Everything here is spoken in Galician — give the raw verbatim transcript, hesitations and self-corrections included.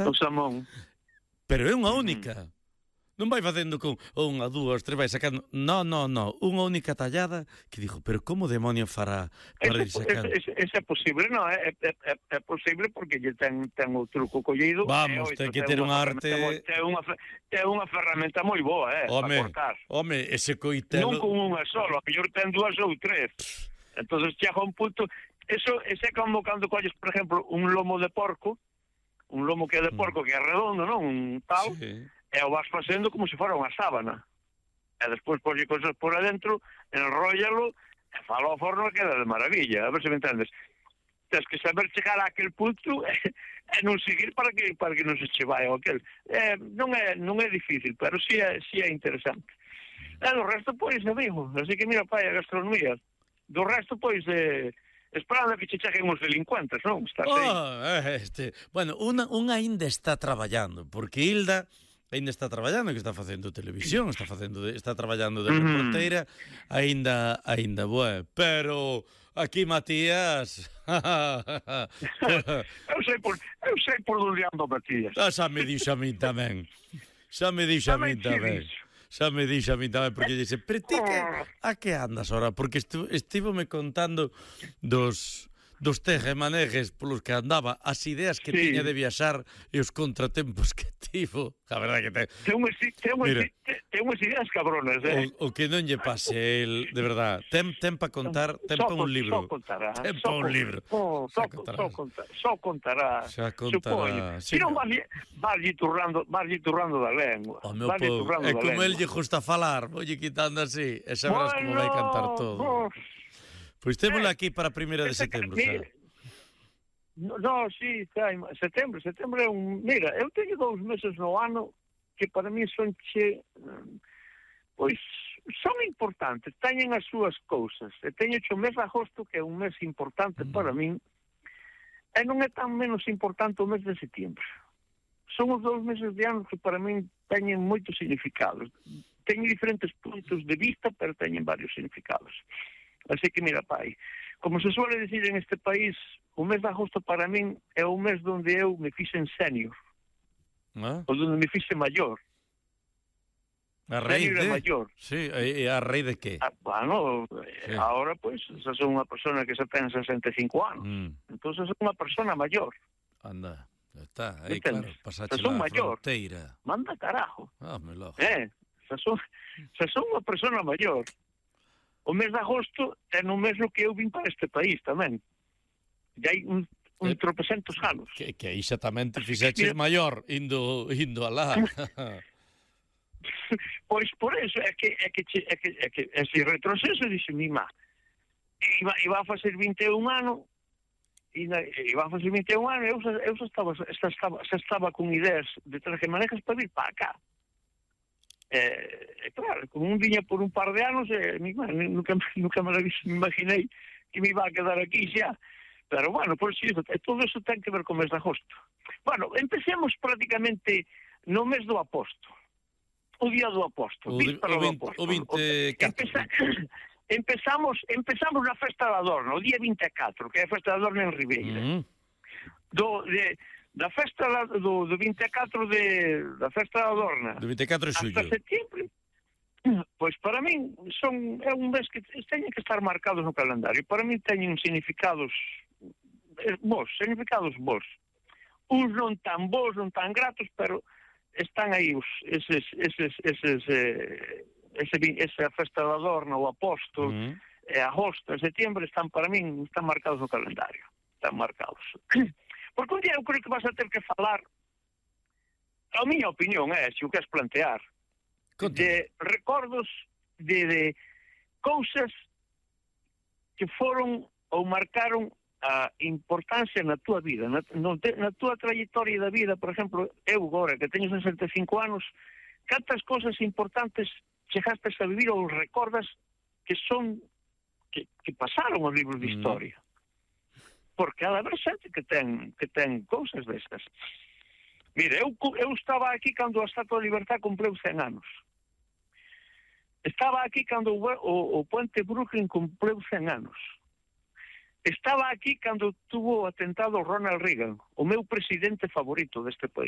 esta. O salmón. Pero é unha Mm. única. Non vai facendo con unha, dúas, tres, vai sacando. No, no, no, unha única tallada que dijo, pero como demonio fará para ir Ese, sacando? ese, ese é posible, non, é, é, é, é posible porque lle ten, ten o truco collido. Vamos, ten que ter un arte... Ten unha, ten unha ferramenta moi boa, eh, para Home, cortar. home, ese coitelo... Non con unha solo, a mellor ten dúas ou tres. Entonces chega un punto... Eso, ese é como cando colles, por exemplo, un lomo de porco, un lomo que é de porco, que é redondo, non? Un tal... Sí. E o vas facendo como se fora unha sábana. E despois polle cosas por adentro, enróllalo, e falo ao forno e queda de maravilla. A ver se me entendes. Tens que saber chegar a aquel punto e, e non seguir para que para que non se che vai o aquel. Eh, non é non é difícil, pero si é, si é interesante. E do resto, pois, amigo. Así que mira, pai, a gastronomía. Do resto, pois, eh, esperando que che cheguen os delincuentes, non? Estás aí. Oh, este... Bueno, unha, unha ainda está traballando, porque Hilda... ainda está traballando, que está facendo televisión, está facendo de, está traballando de reporteira, aínda aínda boa, pero aquí Matías. eu sei por eu sei por onde ando, Matías. Ah, xa me dixo a min tamén. Xa me dixo a min tamén. Xa me dixo a min tamén porque dice, "Pero ti que a que andas ahora?" Porque estu, estivome contando dos dos tejemanejes polos que andaba, as ideas que sí. tiña de viaxar e os contratempos que tivo. A verdade que ten... Ten unhas, ten unhas, ten unhas ideas cabronas, eh? O, o que non lle pase el, de verdade. Ten, ten pa contar, ten pa un libro. Só contará. Ten pa un libro. Oh, só, contará. Só, contará. Só contará. Xa contará. Si non vas turrando, vas turrando da lengua. O meu po, é como el lle gusta falar, volle quitando así, e sabrás bueno, como vai cantar todo. Vos... Pois témola aquí para a primeira de setembro, xa. No, no, sí, xa, setembro, setembro é un... Mira, eu teño dous meses no ano que para mí son che... Pois, son importantes, teñen as súas cousas. E teño o mes de agosto, que é un mes importante mm. para min, e non é tan menos importante o mes de setembro. Son os dous meses de ano que para min teñen moitos significados. Teñen diferentes puntos de vista, pero teñen varios significados. Así que, mira, pai, como se suele decir en este país, o mes de agosto para min é o mes onde eu me fixen senior. ¿Ah? Ou onde me fixe maior. A raíz de... maior. Sí, e a raíz de que? Ah, bueno, sí. Ahora, pois, pues, xa son unha persona que xa ten sesenta e cinco anos. Mm. Entón, xa son unha persona maior. Anda, está, aí, claro, pasache xa son la maior. Fronteira. Manda carajo. Ah, me lo... Eh, xa son, xa son unha persona maior. O mes de agosto é no mes no que eu vim para este país tamén. E hai un, un eh, tropecentos anos. Que, que aí xa tamén te fixeches maior, indo, indo alá. Pois por eso é que é que é que é que ese retroceso dixe mi má. Iba iba a facer vinte e un anos e iba a facer vinte e un anos, eu xa, eu xa estaba xa estaba xa estaba con ideas de tejemanejes para vir para acá. Eh, claro, como un viña por un par de anos, eh, nunca, nunca me imaginei que me iba a quedar aquí xa. Pero bueno, por si eso, todo eso ten que ver con o mes de agosto. Bueno, empecemos prácticamente no mes do aposto. O día do aposto. O, o, vinte, o vinte e catro. Empeza, empezamos, empezamos na festa da Adorna, o día vinte e catro, que é a festa da Adorna en Ribeira. Mm. Do, de... Da festa do, do vinte e catro de, da festa da Adorna do vinte e catro de xullo hasta setembro, pois para min son, é un mes que teñen que estar marcados no calendario. Para min teñen significados bons, significados bons, uns non tan bons, non tan gratos, pero están aí os, eses, eses, eses eh, ese, esa festa da Adorna, o Apóstol, mm. e agosto e setembro están para min, están marcados no calendario, están marcados. Porque un día eu creo que vas a ter que falar, a miña opinión é, se o queres plantear, Conta. de recordos de, de cousas que foron ou marcaron a importancia na túa vida, na, no, na túa trayectoria da vida. Por exemplo, eu agora, que teño sesenta e cinco anos, cantas cousas importantes chegastes a vivir ou recordas que son, que, que pasaron os libros de historia. Mm. Porque ha de haber xente que ten que ten cousas destas. Mire, eu, eu estaba aquí cando a Estatua da Libertad cumpleu cen anos. Estaba aquí cando o, o, o Puente Brooklyn cumpleu cen anos. Estaba aquí cando tuvo o atentado Ronald Reagan, o meu presidente favorito deste país.